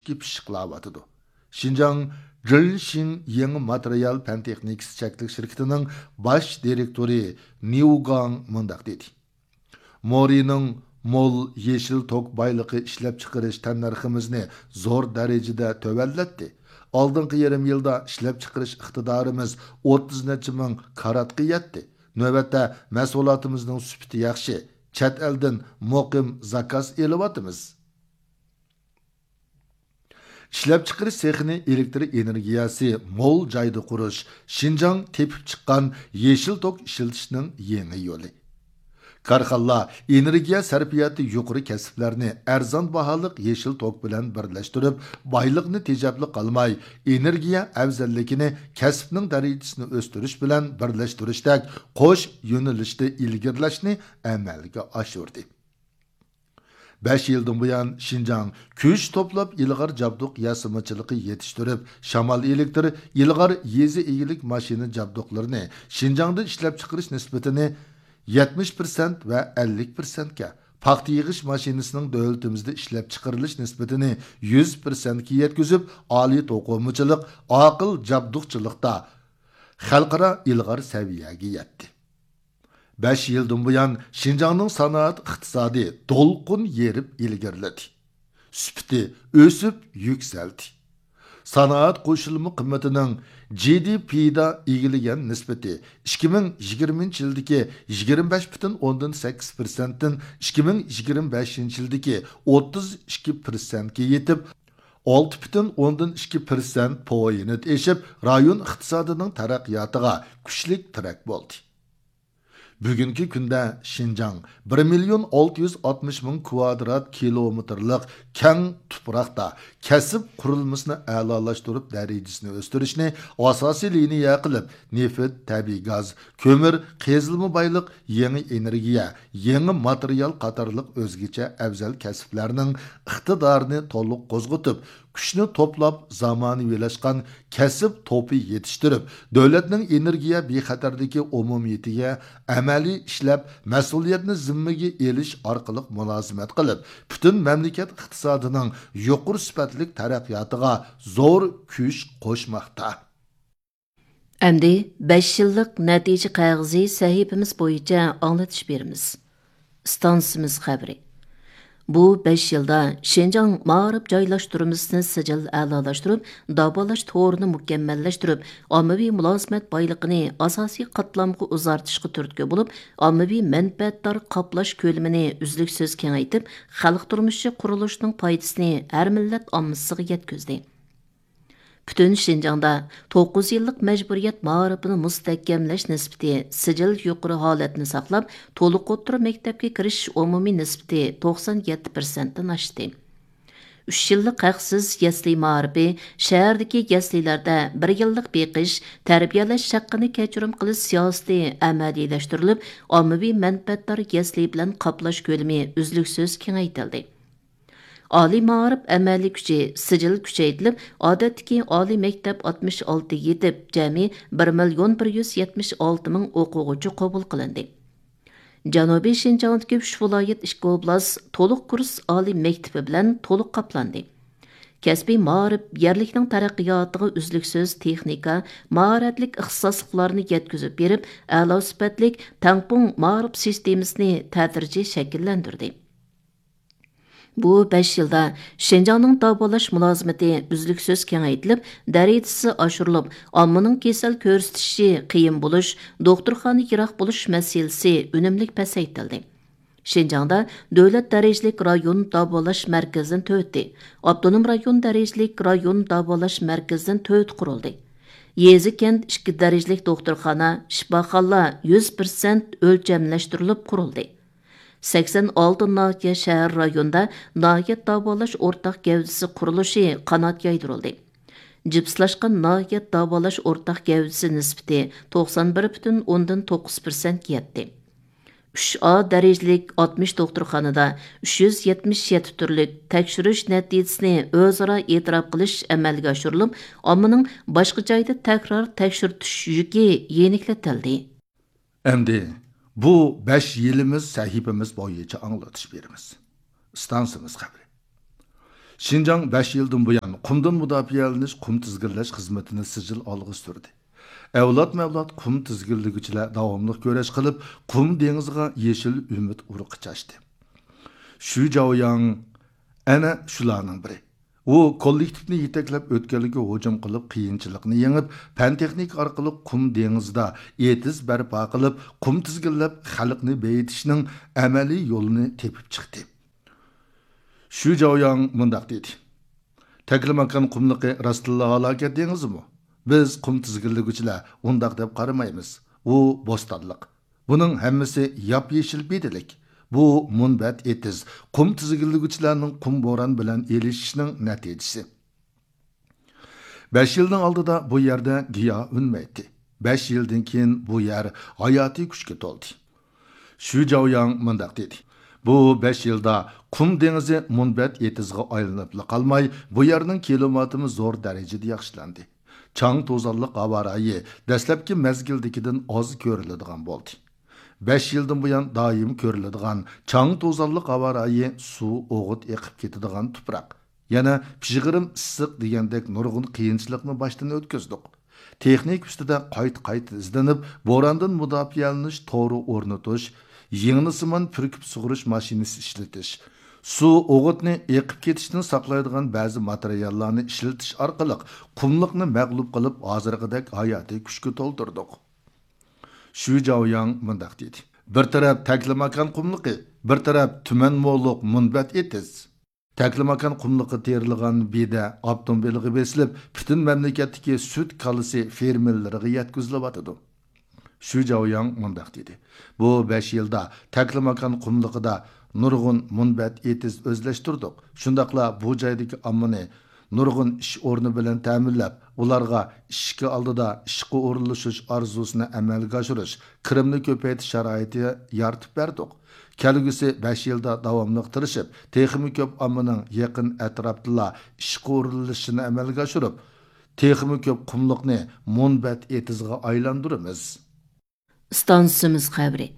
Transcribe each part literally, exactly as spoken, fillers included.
پىششىقلاۋاتىدۇ. شىنجاڭ جىنشىڭ يېڭى ماتېرىيال پەن تېخنىكىسى چەكلىك شىركىتىنىڭ باش دىرېكتورى نيۇ گاڭ مۇنداق دېدى: مورىنىڭ مول يېشىل توك بايلىقى ئىشلەپچىقىرىش تەننەرخىمىزنى زور دەرىجىدە تۆۋەنلەتتى. ئالدىنقى يېرىم يىلدا ئىشلەپچىقىرىش ئىقتىدارىمىز ئوتتۇز نەچچە مىڭ كاراتقا يەتتى. نۆۋەتتە مەھسۇلاتىمىزنىڭ سۈپىتى ياخشى، چەت ئەلدىن مۇقىم زاكاز ئېلىۋاتىمىز. ئىشلەپچىقىرىش سېخىنى ئېلېكتر ئېنېرگىيەسى مول جايدا قۇرۇش، شىنجاڭ تېپىپ چىققان يېشىل توك ئىشلىتىشنىڭ يېڭى يولى. كارخانىلار ئېنېرگىيە سەرپىياتى يۇقىرى كەسىپلەرنى ئەرزان باھالىق يېشىل توك بىلەن بىرلەشتۈرۈپ، بايلىقنى تېجەپلىك قىلماي، ئېنېرگىيە ئەۋزەللىكىنى، كەسىپنىڭ دەرىجىسىنى ئۆستۈرۈش بىلەن بىرلەشتۈرۈشتەك قوش يۆنىلىشتە ئىلگىرىلەشنى ئەمەلگە ئاشۇردى. بەش يىلدىن بۇيان، شىنجاڭ كۈچ توپلاپ، ئىلغار جابدۇق ياسىمىچىلىقى يېتىشتۈرۈپ، شامال ئېلېكتر، ئىلغار يېزا ئىگىلىك ماشىنا جابدۇقلىرىنى شىنجاڭدا ئىشلەپچىقىرىش نىسبىتىنى يەتمىش پىرسەنت ۋە ئەللىك پىرسەنتكە، پاختا يىغىش ماشىنىسىنىڭ دۆلىتىمىزدە ئىشلەپچىقىرىلىش نىسبىتىنى يۈز پىرسەنتكە يەتكۈزۈپ، ئالىي توقۇمىچىلىق، ئاقىل جابدۇقچىلىقتا خەلقئارا ئىلغار سەۋىيەگە يەتتى. بەش يىلدىن بۇيان، شىنجاڭنىڭ سانائەت ئىقتىسادى دولقۇن يېرىپ ئىلگىرىلىدى. سۈپىتى ئۆسۈپ يۈكسەلدى. سانائەت قوشۇلما قىممىتىنىڭ جى دى پىدا ئىگىلىگەن نىسبىتى ئىككى مىڭ يىگىرمىنچى يىلدىكى يىگىرمە بەش پۈتۈن ئوندىن سەككىز پىرسەنتتىن ئىككى مىڭ يىگىرمە بەشىنچى يىلدىكى ئوتتۇز ئىككى پىرسەنتكە يېتىپ، ئالتە پۈتۈن ئوندىن ئىككى پىرسەنت پوينت ئېشىپ، رايون ئىقتىسادىنىڭ تەرەققىياتىغا كۈچلۈك تىرەك بولدى. بۈگۈنكى كۈندە شىنجاڭ بىر مىليون ئالتە يۈز ئاتمىش مىڭ كۋادرات كىلومېتىرلىق كەڭ تۇپراقتا كەسىپ قۇرۇلمىسىنى ئەلالاشتۇرۇپ، دەرىجىسىنى ئۆستۈرۈشنى ئاساسىي لىنىيە قىلىپ، نېفىت، تەبىئىي گاز، كۆمۈر، قېزىلما بايلىق، يېڭى ئېنېرگىيە، يېڭى ماتېرىيال قاتارلىق ئۆزگىچە ئەۋزەل كەسىپلەرنىڭ ئىقتىدارىنى تولۇق قوزغىتىپ، كۈچنى توپلاپ، زامانىۋىلاشقان كەسىپ توپى يېتىشتۈرۈپ، دۆلەتنىڭ ئېنېرگىيە بىخەتەرلىكى ئومۇمىيىتىگە ئەمەلىي ئىشلەپ، مەسئۇلىيەتنى زىممىگە ئېلىش ئارقىلىق مۇلازىمەت قىلىپ، پۈتۈن مەملىكەت ئىقتىسادىنىڭ يۇقىرى سۈپەتلىك تەرەققىياتىغا زور كۈچ قوشماقتا. ئەمدى بەش يىللىق نەتىجە قەغىزى سەھىپىمىز بويىچە ئاڭلىتىش بېرىمىز. ئىستانسىمىز خەۋىرى. بۇ بەش يىلدا شىنجاڭ مائارىپ جايلاشتۇرمىسىنى سىجىل ئەلالاشتۇرۇپ، داۋالاش تورىنى مۇكەممەللەشتۈرۈپ، ئاممىۋى مۇلازىمەت بايلىقىنى ئاساسىي قاتلامغا ئۇزارتىشقا تۈرتكە بولۇپ، ئاممىۋى مەنپەئەتدار قاپلاش كۆلىمىنى ئۈزلۈكسىز كېڭەيتىپ، خەلق تۇرمۇشى قۇرۇلۇشىنىڭ پايدىسىنى ھەر مىللەت ئاممىسىغا يەتكۈزدى. پۈتۈن شىنجاڭدا توققۇز يىللىق مەجبۇرىيەت مائارىپىنى مۇستەھكەملەش نىسبىتى سىجىل يۇقىرى ھالەتنى ساقلاپ، تولۇق ئوتتۇرا مەكتەپكە كىرىش ئومۇمىي نىسبىتى توقسان يەتتە پىرسەنتتىن ئاشتى. ئۈچ يىللىق ھەقسىز يەسلى مائارىپى شەھەردىكى يەسلىلەردە بىر يىللىق بېقىش، تەربىيەلەش ھەققىنى كەچۈرۈم قىلىش سىياسىتى ئەمەلىيلەشتۈرۈلۈپ، ئاممىۋى مەنپەئەتدار يەسلى بىلەن قاپلاش كۆلىمى ئۈزلۈكسىز كېڭەيتىلدى. ئالىي مائارىپ ئەمەلىي كۈچى سىجىل كۈچەيتىلىپ، ئادەتتىكى ئالىي مەكتەپ ئاتمىش ئالتە يېتىپ، جەمئىي بىر مىليون بىر يۈز يەتمىش ئالتە مىڭ ئوقۇغۇچى قوبۇل قىلىندى. جەنۇبىي شىنجاڭدىكى ئۈچ ۋىلايەت، ئىككى ئوبلاست تولۇق كۇرس ئالىي مەكتىپى بىلەن تولۇق قاپلاندى. كەسپىي مائارىپ يەرلىكنىڭ تەرەققىياتىغا ئۈزلۈكسىز تېخنىكا، ماھارەتلىك ئىختىساسلىقلارنى يەتكۈزۈپ بېرىپ، ئەلا سۈپەتلىك تەڭپۇڭ مائارىپ سىستېمىسىنى تەدرىجىي شەكىللەندۈردى. بۇ بەش يىلدا شىنجاڭنىڭ داۋالاش مۇلازىمىتى ئۈزلۈكسىز كېڭەيتىلىپ، دەرىجىسى ئاشۇرۇلۇپ، ئاممىنىڭ كېسەل كۆرسىتىشى قىيىن بولۇش، دوختۇرخانا يىراق بولۇش مەسىلىسى ئۈنۈملۈك پەسەيتىلدى. شىنجاڭدا دۆلەت دەرىجىلىك رايون داۋالاش مەركىزىدىن تۆتى، ئاپتونوم رايون دەرىجىلىك رايون داۋالاش مەركىزىدىن تۆتى قۇرۇلدى. يېزا، كەنت ئىككى دەرىجىلىك دوختۇرخانا، شىپاخانىلار يۈز پىرسەنت ئۆلچەملەشتۈرۈلۈپ قۇرۇلدى. سەكسەن ئالتە ناھىيە، شەھەر، رايوندا ناھىيە داۋالاش ئورتاق گەۋدىسى قۇرۇلۇشى قانات يايدۇرۇلدى. جىپسلاشقان ناھىيە داۋالاش ئورتاق گەۋدىسى نىسبىتى توقسان بىر پۈتۈن ئوندىن توققۇز پىرسەنتكە يەتتى. ئۈچ ئا دەرىجىلىك ئاتمىش دوختۇرخانىدا ئۈچ يۈز يەتمىش يەتتە تۈرلۈك تەكشۈرۈش نەتىجىسىنى ئۆزئارا ئېتىراپ قىلىش ئەمەلگە ئاشۇرۇلۇپ، ئاممىنىڭ باشقا جايدا تەكرار تەكشۈرتۈش يۈكى يېنىكلىتىلدى. ئەمدى بۇ بەش يىلىمىز سەھىپىمىز بويىچە ئاڭلىتىش بېرىمىز. ئىستانسىمىز خەۋىرى. شىنجاڭ بەش يىلدىن بۇيان قۇمدىن مۇداپىئەلىنىش، قۇم تىزگىنلەش خىزمىتىنى سىجىل ئالغا سۈردى. ئەۋلادمۇ ئەۋلاد قۇم تىزگىنلىگۈچىلەر داۋاملىق كۈرەش قىلىپ، قۇم دېڭىزىغا يېشىل ئۈمىد ئۇرۇقى چاچتى. شۈ جاۋياڭ ئەنە شۇلارنىڭ بىرى. ئۇ كوللېكتىپنى يېتەكلەپ، ئۆتكەلگە ھۇجۇم قىلىپ، قىيىنچىلىقنى يېڭىپ، پەن تېخنىكا ئارقىلىق قۇم دېڭىزىدا ئېتىز بەرپا قىلىپ، قۇم تىزگىنلەپ، خەلقنى بېيىتىشنىڭ ئەمەلىي يولىنى تېپىپ چىقتى. شۈ جاۋياڭ مۇنداق دېدى: تەكلىماكان قۇملۇقى راستتىنلا ھالاكەت دېڭىزىمۇ؟ بىز قۇم تىزگىنلىگۈچىلەر ئۇنداق دەپ قارىمايمىز. ئۇ بوستانلىق. بۇنىڭ ھەممىسى ياپيېشىل بېدىلىك. بۇ مۇنبەت ئېتىز، قۇم تىزگىنلىگۈچىلەرنىڭ قۇم بوران بىلەن ئېلىشىشىنىڭ نەتىجىسى. بەش يىلنىڭ ئالدىدا بۇ يەردە گىياھ ئۈنمەيتتى. بەش يىلدىن كېيىن بۇ يەر ھاياتىي كۈچكە تولدى. شۈ جاۋياڭ مۇنداق دېدى: بۇ بەش يىلدا قۇم دېڭىزى مۇنبەت ئېتىزغا ئايلىنىپلا قالماي، بۇ يەرنىڭ كىلىماتىمۇ زور دەرىجىدە ياخشىلاندى. چاڭ توزانلىق ھاۋا رايى دەسلەپكى مەزگىلدىكىدىن ئاز كۆرۈلىدىغان بولدى. بەش يىلدىن بۇيان دائىم كۆرۈلىدىغان چاڭ توزانلىق ھاۋا رايى، سۇ ئوغۇت ئېقىپ كېتىدىغان تۇپراق، يەنە پىژغىرىم ئىسسىق دېگەندەك نۇرغۇن قىيىنچىلىقنى باشتىن ئۆتكۈزدۇق. تېخنىكا ئۈستىدە قايتا-قايتا ئىزدىنىپ، بوراندىن مۇداپىئەلىنىش تورى ئورنىتىش، يىڭنىسىمان پۈركۈپ سۇغۇرۇش ماشىنىسى ئىشلىتىش، سۇ ئوغۇتنى ئېقىپ كېتىشتىن ساقلايدىغان بەزى ماتېرىياللارنى ئىشلىتىش ئارقىلىق قۇملۇقنى مەغلۇپ قىلىپ، ھازىرقىدەك ھاياتىي كۈچكە تولدۇردۇق. شۈ جاۋياڭ مۇنداق دېدى: بىر تەرەپ تەكلىماكان قۇملۇقى، بىر تەرەپ تۈمەن مولۇق مۇنبەت ئېتىز. تەكلىماكان قۇملۇقى تېرىلغان بېدە ئاپتوموبىلغا بېسىلىپ، پۈتۈن مەملىكەتتىكى سۈت كالىسى فېرمېلىرىغا يەتكۈزۈلۈۋاتىدۇ. شۈ جاۋياڭ مۇنداق دېدى: بۇ بەش يىلدا تەكلىماكان قۇملۇقىدا نۇرغۇن مۇنبەت ئېتىز ئۆزلەشتۈردۇق. شۇنداقلا بۇ جايدىكى ئاممىنى نۇرغۇن ئىش ئورنى بىلەن تەمىنلەپ، ئۇلارغا ئىشىكى ئالدىدا ئىشقا ئورۇنلىشىش ئارزۇسىنى ئەمەلگە ئاشۇرۇش، كىرىمنى كۆپەيتىش شارائىتى يارىتىپ بەردۇق. كەلگۈسى بەش يىلدا داۋاملىق تىرىشىپ، تېخىمۇ كۆپ ئاممىنىڭ يېقىن ئەتراپتىلا ئىشقا ئورۇنلىشىشىنى ئەمەلگە ئاشۇرۇپ، تېخىمۇ كۆپ قۇملۇقنى مۇنبەت ئېتىزغا ئايلاندۇرىمىز. ئىستانسىمىز خەۋىرى.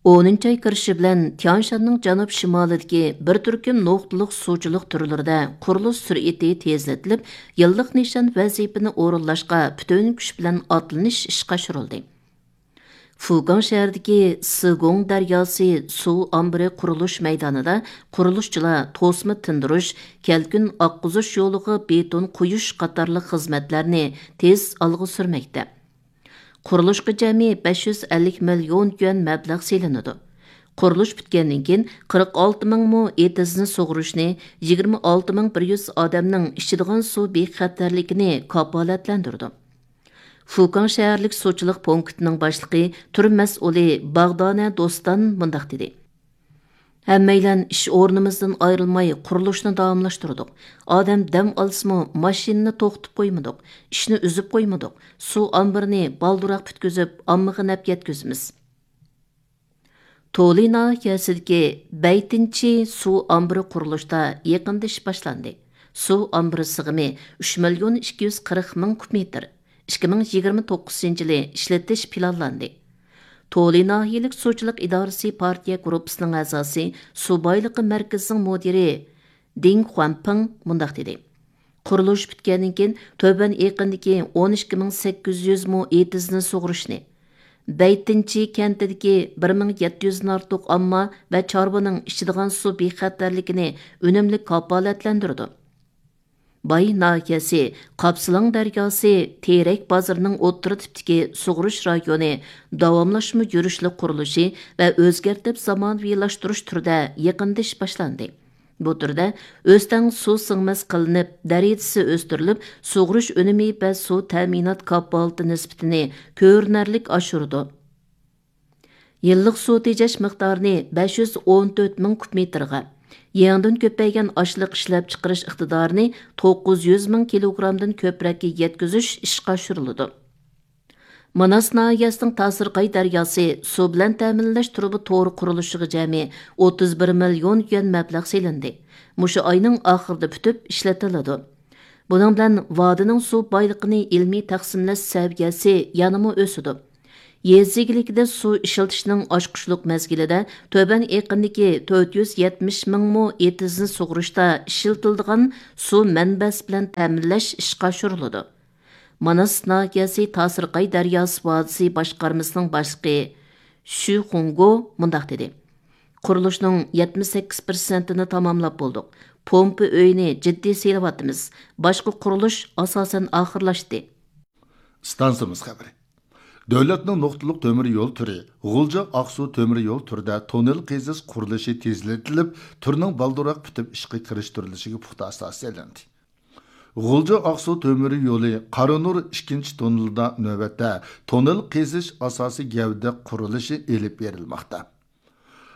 ئونىنچى ئاي كىرىشى بىلەن تيانشاننىڭ جەنۇب شىمالىدىكى بىر تۈركۈم نۇقتىلىق سۇچىلىق تۈرلىرىدە قۇرۇلۇش سۈرئىتى تېزلىتىلىپ، يىللىق نىشان ۋەزىپىنى ئورۇنلاشقا پۈتۈن كۈچ بىلەن ئاتلىنىش ئىشقا ئاشۇرۇلدى. فۇكاڭ شەھىرىدىكى سىگۇڭ دەرياسى سۇ ئامبىرى قۇرۇلۇش مەيدانىدا قۇرۇلۇشچىلار توسما تىندۇرۇش، كەلكۈن ئاققۇزۇش يولىغا بېتون قۇيۇش قاتارلىق خىزمەتلەرنى تېز ئالغا سۈرمەكتە. قۇرۇلۇشقا جەمئىي بەش يۈز ئەللىك مىليون يۈەن مەبلەغ سېلىنىدۇ. قۇرۇلۇش پۈتكەندىن كېيىن، قىرىق ئالتە مىڭ مو ئېتىزنى سۇغۇرۇشنى، يىگىرمە ئالتە مىڭ بىر يۈز ئادەمنىڭ ئىچىدىغان سۇ بىخەتەرلىكىنى كاپالەتلەندۈرىدۇ. فۇكاڭ شەھەرلىك سۇچىلىق پونكىتىنىڭ باشلىقى، تۈر مەسئۇلى باغدانە دوستان مۇنداق دېدى: ھەممەيلەن ئىش ئورنىمىزدىن ئايرىلماي قۇرۇلۇشنى داۋاملاشتۇردۇق. ئادەم دەم ئالسىمۇ، ماشىنىنى توختىتىپ قويمىدۇق، ئىشنى ئۈزۈپ قويمىدۇق. سۇ ئامبىرىنى بالدۇرراق پۈتكۈزۈپ، ئاممىغا نەپ يەتكۈزىمىز. تولى ناھىيەسىدىكى بەيتىنچى سۇ ئامبىرى قۇرۇلۇشتا يېقىندا ئىش باشلاندى. سۇ ئامبىرى سىغىمى ئۈچ مىليون ئىككى يۈز قىرىق مىڭ كۇب مېتىر. ئىككى مىڭ يىگىرمە توققۇزىنچى يىلى ئىشلىتىش پىلانلاندى. تولى ناھىيەلىك سۇچىلىق ئىدارىسى پارتىيە گۇرۇپپىسىنىڭ ئەزاسى، سۇ بايلىقى مەركىزىنىڭ مۇدىرى دىڭ خۇەنپىڭ مۇنداق دېدى: قۇرۇلۇش پۈتكەندىن كېيىن، تۆۋەن ئېقىندىكى ئون ئىككى مىڭ سەككىز يۈز مو ئېتىزنى سۇغۇرۇشنى، بەيتىنچى كەنتىدىكى بىر مىڭ يەتتە يۈزدىن ئارتۇق ئامما ۋە چارۋىنىڭ ئىچىدىغان سۇ بىخەتەرلىكىنى ئۈنۈملۈك كاپالەتلەندۈرىدۇ. باي ناھىيەسى، قاپسىلاڭ دەرياسى، تېرەك بازىرىنىڭ ئوتتۇرا تىپتىكى سۇغۇرۇش رايونى داۋاملاشما يۈرۈشلۈك قۇرۇلۇشى ۋە ئۆزگەرتىپ زامانىۋىلاشتۇرۇش تۈرىدە يېقىندا ئىش باشلاندى. بۇ تۈردە ئۆستەڭ سۇ سىڭمەس قىلىنىپ، دەرىجىسى ئۆستۈرۈلۈپ، سۇغۇرۇش ئۈنۈمى ۋە سۇ تەمىنات كاپالىتى نىسبىتىنى كۆرۈنەرلىك ئاشۇرىدۇ. يىللىق سۇ تېجەش مىقدارىنى بەش يۈز ئون تۆت مىڭ كۇب مېتىرغا، يېڭىدىن كۆپەيگەن ئاشلىق ئىشلەپچىقىرىش ئىقتىدارىنى توققۇز يۈز مىڭ كىلوگرامدىن كۆپرەككە يەتكۈزۈش ئىشقا ئاشۇرۇلىدۇ. ماناس ناھىيەسىنىڭ تاسىرقاي دەرياسى سۇ بىلەن تەمىنلەش تۇرۇبا تورى قۇرۇلۇشىغا جەمئىي ئوتتۇز بىر مىليون يۈەن مەبلەغ سېلىندى. مۇشۇ ئاينىڭ ئاخىرىدا پۈتۈپ ئىشلىتىلىدۇ. بۇنىڭ بىلەن ۋادىنىڭ سۇ بايلىقىنى ئىلمىي تەقسىملەش سەۋىيەسى يەنىمۇ ئۆسىدۇ. يېزا ئىگىلىكىدە سۇ ئىشلىتىشنىڭ ئاچقۇچلۇق مەزگىلىدە تۆۋەن ئېقىندىكى تۆت يۈز يەتمىش مىڭ مو ئېتىزنى سۇغۇرۇشتا ئىشلىتىلىدىغان سۇ مەنبەسى بىلەن تەمىنلەش ئىشقا ئاشۇرۇلىدۇ. ماناس ناھىيەسى تاسىرقاي دەرياسى ۋادىسى باشقارمىسىنىڭ باشلىقى شۈ خۇڭگو مۇنداق دېدى: قۇرۇلۇشنىڭ يەتمىش سەككىز پىرسەنتىنى تاماملاپ بولدۇق. پومپا ئۆيىنى جىددىي سېلىۋاتىمىز. باشقا قۇرۇلۇش ئاساسەن ئاخىرلاشتى. ئىستانسىمىز خەۋىرى. دۆلەتنىڭ نۇقتىلىق تۆمۈر يول تۈرى، غۇلجا ئاقسۇ تۆمۈر يول تۈرىدە توننېل قېزىش قۇرۇلۇشى تېزلىتىلىپ، تۈرنىڭ بالدۇرراق پۈتۈپ ئىشقا كىرىشتۈرۈلۈشىگە پۇختا ئاساس سېلىندى. غۇلجا ئاقسۇ تۆمۈر يولى قارانۇر ئىككىنچى توننېلىدا نۆۋەتتە توننېل قېزىش ئاساسىي گەۋدە قۇرۇلۇشى ئېلىپ بېرىلماقتا.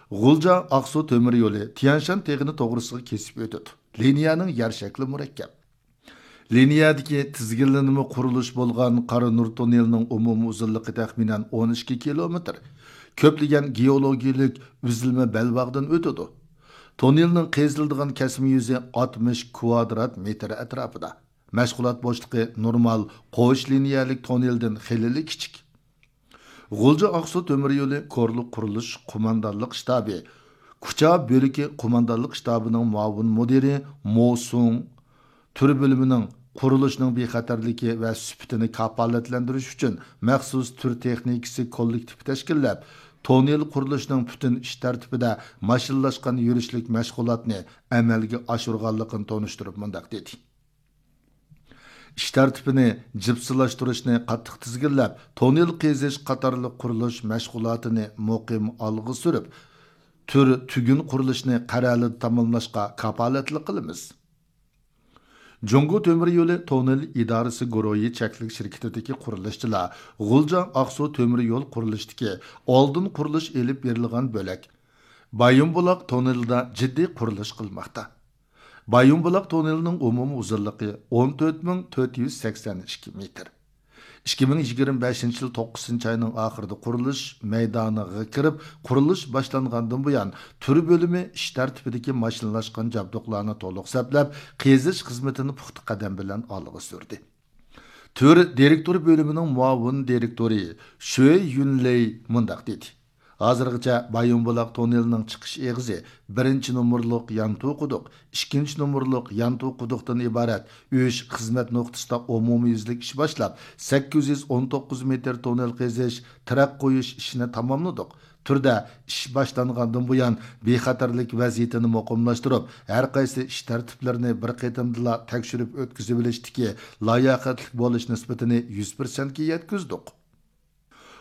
غۇلجا ئاقسۇ تۆمۈر يولى تيەنشان تېغىنى توغرىسىغا كېسىپ ئۆتىدۇ. لىنىيەنىڭ يەر شەكلى مۇرەككەپ. لىنىيەدىكى تىزگىنلىنىمە قۇرۇلۇش بولغان قارانۇر توننېلىنىڭ ئومۇمىي ئۇزۇنلۇقى تەخمىنەن ئون ئىككى كىلومېتىر. كۆپلىگەن گېئولوگىيەلىك ئۈزۈلمە بەلباغدىن ئۆتىدۇ. توننېلنىڭ قېزىلىدىغان كەسمە يۈزى ئاتمىش كۋادرات مېتىر ئەتراپىدا. مەشغۇلات بوشلۇقى نورمال قوش لىنىيەلىك توننېلدىن خېلىلا كىچىك. غۇلجا ئاقسۇ تۆمۈر يولى كورلا قۇرۇلۇش قوماندانلىق شتابى، كۇچا بۆلىكى قوماندانلىق شتابىنىڭ مۇئاۋىن مۇدىرى مو سۇڭ تۈر بۆلۈمىنىڭ قۇرۇلۇشنىڭ بىخەتەرلىكى ۋە سۈپىتىنى كاپالەتلەندۈرۈش ئۈچۈن مەخسۇس تۈر تېخنىكىسى كوللېكتىپى تەشكىللەپ، توننېل قۇرۇلۇشىنىڭ پۈتۈن ئىش تەرتىپىدە ماشىنىلاشقان يۈرۈشلۈك مەشغۇلاتنى ئەمەلگە ئاشۇرغانلىقىنى تونۇشتۇرۇپ مۇنداق دېدى: ئىش تەرتىپىنى جىپسىلاشتۇرۇشنى قاتتىق تىزگىنلەپ، توننېل قېزىش قاتارلىق قۇرۇلۇش مەشغۇلاتىنى مۇقىم ئالغا سۈرۈپ، تۈر تۈگۈن قۇرۇلۇشىنى قەرەلىدە تاماملاشقا كاپالەتلىك قىلىمىز. جۇڭگو تۆمۈر يولى توننېل ئىدارىسى گۇرۇھى چەكلىك شىركىتىدىكى قۇرۇلۇشچىلار غۇلجا ئاقسۇ تۆمۈر يول قۇرۇلۇشىدىكى ئالدىن قۇرۇلۇش ئېلىپ بېرىلغان بۆلەك بايىنبۇلاق توننېلىدا جىددىي قۇرۇلۇش قىلماقتا. بايىنبۇلاق توننېلىنىڭ ئومۇمىي ئۇزۇنلۇقى ئون تۆت مىڭ تۆت يۈز سەكسەن ئىككى مېتىر. ئىككى مىڭ يىگىرمە بەشىنچى يىل توققۇزىنچى ئاينىڭ ئاخىرىدا قۇرۇلۇش مەيدانىغا كىرىپ، قۇرۇلۇش باشلانغاندىن بۇيان، تۈر بۆلۈمى ئىش تەرتىپىدىكى ماشىنىلاشقان جابدۇقلارنى تولۇق سەپلەپ، قېزىش خىزمىتىنى پۇختا قەدەم بىلەن ئالغا سۈردى. تۈر دىرېكتور بۆلۈمىنىڭ مۇئاۋىن دىرېكتورى شۈي يۈنلېي مۇنداق دېدى: ھازىرغىچە بايىنبۇلاق توننېلىنىڭ چىقىش ئېغىزى بىرىنچى نومۇرلۇق يانتۇ قۇدۇق، ئىككىنچى نومۇرلۇق يانتۇ قۇدۇقتىن ئىبارەت ئۈچ خىزمەت نۇقتىسىدا ئومۇميۈزلۈك ئىش باشلاپ، سەككىز يۈز ئون توققۇز مېتىر توننېل قېزىش، تىرەك قويۇش ئىشىنى تاماملىدۇق. تۈردە ئىش باشلانغاندىن بۇيان، بىخەتەرلىك ۋەزىيىتىنى مۇقىملاشتۇرۇپ، ھەر قايسى ئىش تەرتىپلىرىنى بىر قېتىمدىلا تەكشۈرۈپ ئۆتكۈزۈۋېلىشتىكى لاياقەتلىك بولۇش نىسبىتىنى يۈز پىرسەنتكە يەتكۈزدۇق.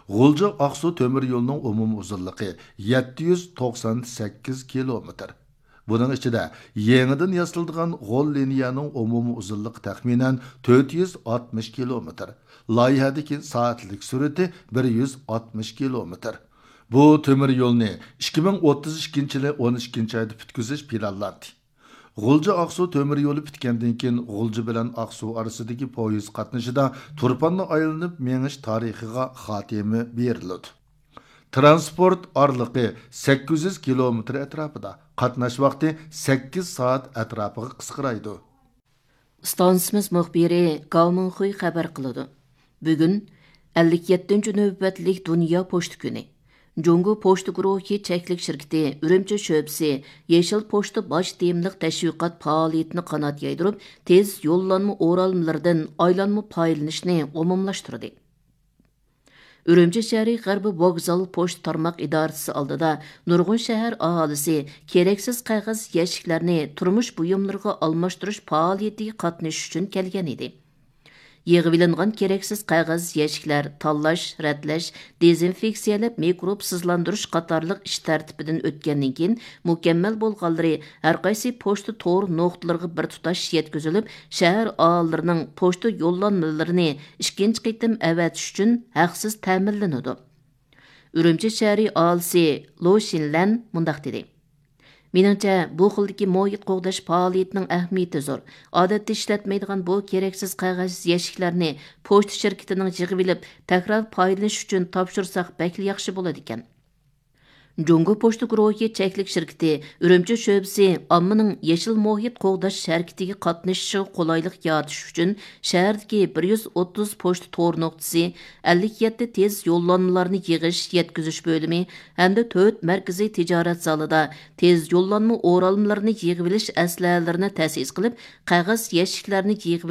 غۇلجا ئاقسۇ تۆمۈر يولىنىڭ ئومۇمىي ئۇزۇنلۇقى يەتتە يۈز توقسان سەككىز كىلومېتىر. بۇنىڭ ئىچىدە يېڭىدىن ياسىلىدىغان غول لىنىيەنىڭ ئومۇمىي ئۇزۇنلۇقى تەخمىنەن تۆت يۈز ئاتمىش كىلومېتىر، لايىھەدىكى سائەتلىك سۈرئىتى بىر يۈز ئاتمىش كىلومېتىر. بۇ تۆمۈر يولنى ئىككى مىڭ ئوتتۇز ئىككىنچى يىلى ئون ئىككىنچى ئايدا پۈتكۈزۈش پىلانلاندى. غۇلجا ئاقسۇ تۆمۈر يولى پۈتكەندىن كېيىن، غۇلجا بىلەن ئاقسۇ ئارىسىدىكى پويىز قاتنىشىدا تۇرپاننى ئايلىنىپ مېڭىش تارىخىغا خاتىمە بېرىلىدۇ. تىرانسپورت ئارىلىقى سەككىز يۈز كىلومېتىر ئەتراپىدا، قاتناش ۋاقتى سەككىز سائەت ئەتراپىغا قىسقىرايدۇ. ئىستانسىمىز مۇخبىرى گاۋ مىڭخۇي خەۋەر قىلىدۇ. بۈگۈن ئەللىك يەتتىنچى نۆۋەتلىك دۇنيا پوچتا كۈنى. جۇڭگو پوچتا گۇرۇھى چەكلىك شىركىتى ئۈرۈمچى شۆبىسى يېشىل پوچتا باش تېمىلىق تەشۋىقات پائالىيىتىنى قانات يايدۇرۇپ، تېز يوللانما ئورالمىلىرىدىن ئايلانما پايدىلىنىشنى ئومۇملاشتۇردى. ئۈرۈمچى شەھىرى غەربىي ۋوگزال پوچتا تارماق ئىدارىسى ئالدىدا نۇرغۇن شەھەر ئاھالىسى كېرەكسىز قەغەز يەشىكلەرنى تۇرمۇش بۇيۇملىرىغا ئالماشتۇرۇش پائالىيىتىگە قاتنىشىش ئۈچۈن كەلگەن ئىدى. يىغىۋېلىنغان كېرەكسىز قەغەز يەشىكلەر تاللاش، رەتلەش، دېزىنفېكسىيەلەپ مىكروبسىزلاندۇرۇش قاتارلىق ئىش تەرتىپىدىن ئۆتكەندىن كېيىن، مۇكەممەل بولغانلىرى ھەرقايسى پوچتا تور نۇقتىلىرىغا بىر تۇتاش يەتكۈزۈلۈپ، شەھەر ئاھالىلىرىنىڭ پوچتا يوللانمىلىرىنى ئىككىنچى قېتىم ئەۋەتىش ئۈچۈن ھەقسىز تەمىنلىنىدۇ. ئۈرۈمچى شەھىرى ئاھالىسى لو شىنلەن مۇنداق دېدى: مېنىڭچە، بۇ خىلدىكى مۇھىت قوغداش پائالىيىتىنىڭ ئەھمىيىتى زور. ئادەتتە ئىشلەتمەيدىغان بۇ كېرەكسىز قەغەز يەشىكلەرنى پوچتا شىركىتىنىڭ يىغىۋېلىپ، تەكرار پايدىلىنىش ئۈچۈن تاپشۇرساق بەكلا ياخشى بولىدىكەن. جۇڭگو پوچتا گۇرۇھى چەكلىك شىركىتى ئۈرۈمچى شۆبىسى ئاممىنىڭ يېشىل مۇھىت قوغداش ھەرىكىتىگە قاتنىشىشىغا قولايلىق يارىتىش ئۈچۈن شەھەردىكى بىر يۈز ئوتتۇز پوچتا تور نۇقتىسى، ئەللىك يەتتە تېز يوللانمىلارنى يىغىش، يەتكۈزۈش بۆلۈمى ھەمدە تۆت مەركىزىي تىجارەت زالىدا تېز يوللانما ئورالمىلىرىنى يىغىۋېلىش ئەسلىھەلىرىنى تەسىس قىلىپ، قەغەز يەشىكلەرنى يىغىۋېلىش